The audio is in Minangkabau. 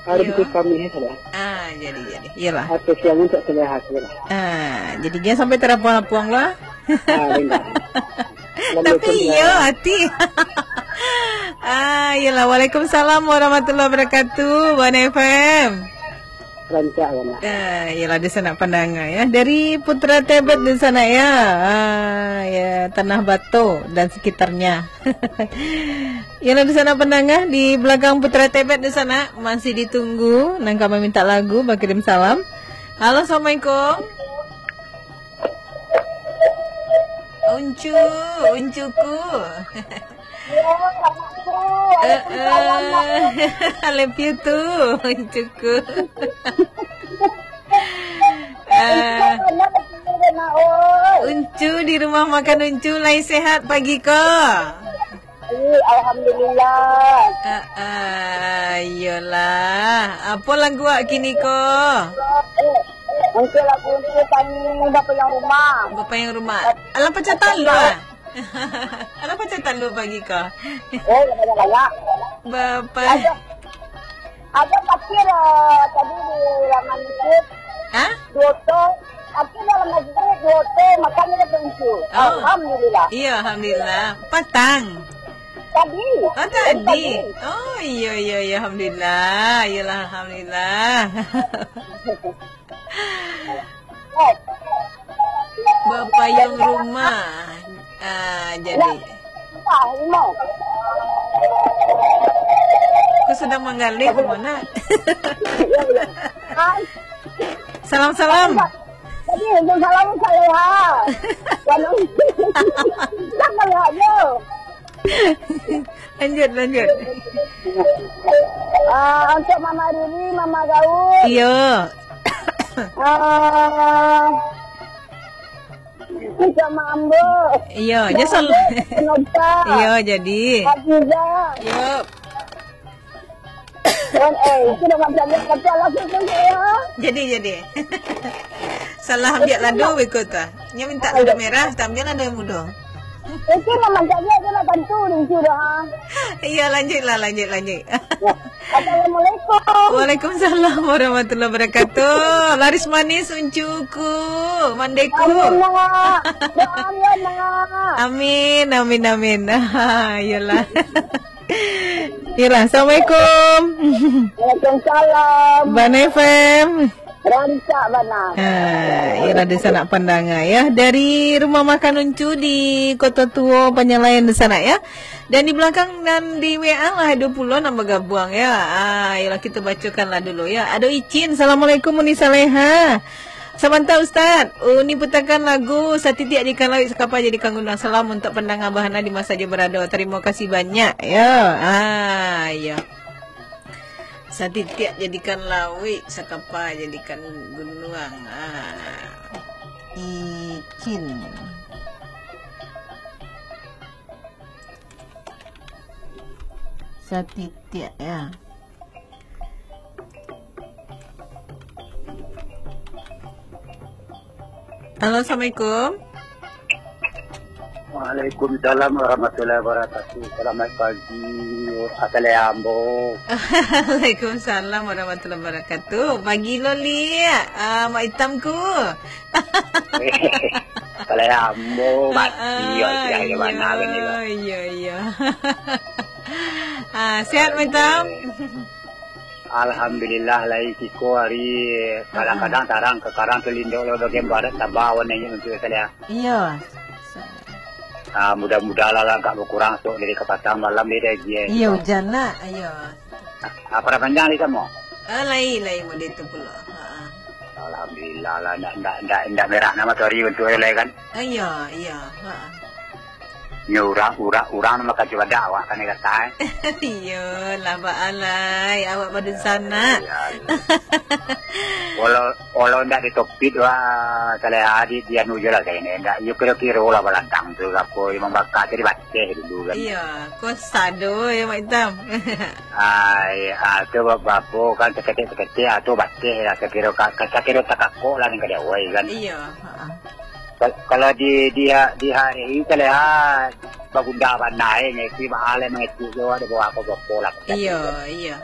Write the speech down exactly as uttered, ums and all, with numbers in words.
Hari Iyo. Itu kami, ya, saudara. Ah, jadi, jadi. Iyalah. Atau siang untuk saudara, saudara. Ah, jadi jangan sampai terapuang-apuang lah. Ah, indah. Tapi Assalamualaikum, iya, saudara. Hati. Ah, iyalah. Waalaikumsalam warahmatullahi wabarakatuh, Bana F M. Rancak, Bana. Ah, iyalah, di sana pandanga, ya. Dari Putra Tebet di sana, ya. Ah, ya, Tanah Bato dan sekitarnya. Iyalah, di sana pandanga, di belakang Putra Tebet di sana, masih ditunggu, nan ka maminta lagu, bakirim salam. Halo, assalamualaikum. Uncu, uncuku. Eh, eh. I love you too, uncuku. Eh, Uncu, di rumah makan Uncu, lai sehat pagi ko? Alhamdulillah. Ah, ah, iyolah. Apo lagu awak kini ko? Mungkin lagu ni tadi bapayuang rumah. Bapayuang rumah. Alah pacah talua. Alah pacah talua pagi ko? Oh, banyak-banyak. Bapa. Ada, ada takbir, eh, tadi di laman masjid. Hah? Duo to. Takbir dalam masjid, duo to, makan di pintu. Oh. Alhamdulillah. Iya, alhamdulillah. Patang. Tadi. Oh, tadi. Tadi. Oh, iya, iya, iya, alhamdulillah. Iyalah, alhamdulillah. Bapayuang rumah. Ah, jadi. Kau sedang manggaleh ke mana? Salam-salam. Jadi, untuk salam Saleha. Salam. Saleha je. Lanjut, lanjut. Ah, untuk Mama Riri, Mama Gaul. Iyo. Ah, untuk Mak Ambo. Iyo, Mak Ambo, Nota. Iyo, jadi. Hafizah. Iyo. Wan, eh, itu dah macam ni, tapi alah, tu, tu, ya. Jadi, jadi. Salah ambiak lado, beko tu. Nya minta lado merah, tak ambiak lado yang mudo. Itu memang tak ambiak, dia nak bantu, dia suruh, ha. Iya, lanjutlah, lanjut, lanjut. Ya. Assalamualaikum. Waalaikumsalam warahmatullahi wabarakatuh. Laris manis uncuku, mandeku. Amin, nak. Doa, amin, nak. Amin, amin, amin. Iyalah. Iyalah, assalamualaikum. Waalaikumsalam. Bana F M. Rancak bana. Ha, iyalah, di sanak pandanga, ya. Dari rumah makan Uncu di Kota Tuo, Panyalayan di sanak, ya. Dan di balakang nan di W A lah, ado pulo nan bagabuang, ya. Ah, iyalah, kita bacokanlah dulu, ya. Ado Icin, "Assalamualaikum, Uni Saleha." Sabanta, Ustaz. Uni putakan lagu Satitiak Jadikan Lawik, Sakapa Jadikan Gunuang. Salam untuak pandanga bahana di ma sajo barado. Tarimo kasih banyak. Yo. Ah, iyo. Satitiak jadikan lawik, sakapa jadikan gunuang. Ah. Icin. Satitiak, ya. Halo, assalamualaikum. Waalaikumsalam warahmatullahi wabarakatuh. Selamat pagi, Asale Ambo. Waalaikumsalam warahmatullahi wabarakatuh. Pagi lo, Lik. Ah, Mak Itam ku. Asale Ambo, mati, ah, ah, yo, sudah, yo, iyo, bana kan, yo. Iyo, iyo. Ah, sehat, Mak Itam? Alhamdulillah, lai siko ari kadang-kadang tarang, kakarang tu lindok lo bagian barat, tabah awan naiak untuak salia. Iyo. Ah, mudah-mudahan lah agak bakurang sok dari kapatang malam ni dah, Gie. Iyo, hujan nak. Iyo. Ah, parah panjang di samo? Ah, lai, lai mode tu pulo. Ha. Alhamdulillah lah, ndak, ndak, ndak, ndak merah nama tu hari untuak lai kan? Ah, iyo, iyo. Ha. Nyo urang, urang, urang nama kajo badak awak kan, eh, kata, eh. Iyo lah, Baalai. Awak badunsanak. Iyo, iyo. Walau, walau ndak ditopit, wah, salah di, di anu je lah, kayaknya. Ndak, iyo kiro-kiro lah balantang tu, apo, memang bakal jadi baceh dulu kan. Iyo, kok sado ya, Mak Itam. Ai, ah, tu ba-, bapo kan, saketek-saketek, ah, tu baceh lah, sakiro ka-, ka-, sakiro takakok lah, ni ka diawai kan. Iyo, ha. Kal-, kalau di, di ha-, di hari ini, kalau, ha, bagunda bana, eh, ngecek, ba-, alai mangecek jo, ada bawa apa-apa lah. Iyo, iyo.